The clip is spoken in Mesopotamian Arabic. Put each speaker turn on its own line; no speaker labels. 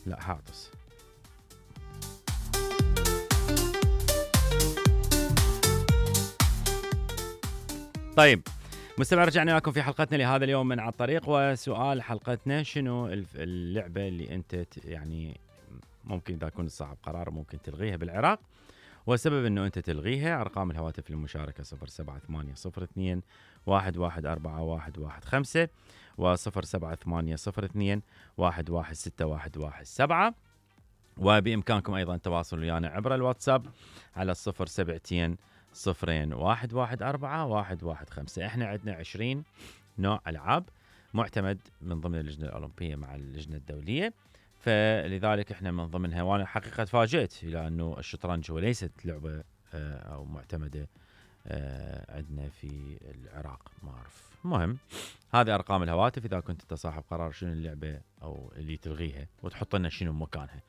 لا هعطس. طيب مستمع، رجعنا لكم في حلقتنا لهذا اليوم من على الطريق، وسؤال حلقتنا شنو اللعبة اللي انت يعني ممكن اذا كنت صاحب قرار ممكن تلغيها بالعراق، والسبب انه انت تلغيها. ارقام الهواتف للمشاركة 07802 114115 و07802 116117، وبإمكانكم أيضا التواصل ويانا عبر الواتساب على 072 0114 احنا عندنا 20 نوع ألعاب معتمد من ضمن اللجنة الأولمبية مع اللجنة الدولية، فلذلك احنا من ضمنها، وانا حقيقة تفاجئت الى انه الشطرنج هو ليست لعبة او معتمدة عندنا في العراق، ما اعرف. المهم هذه ارقام الهواتف، اذا كنت انت صاحب قرار شنو اللعبة او اللي تلغيها وتحط لنا شنو مكانها.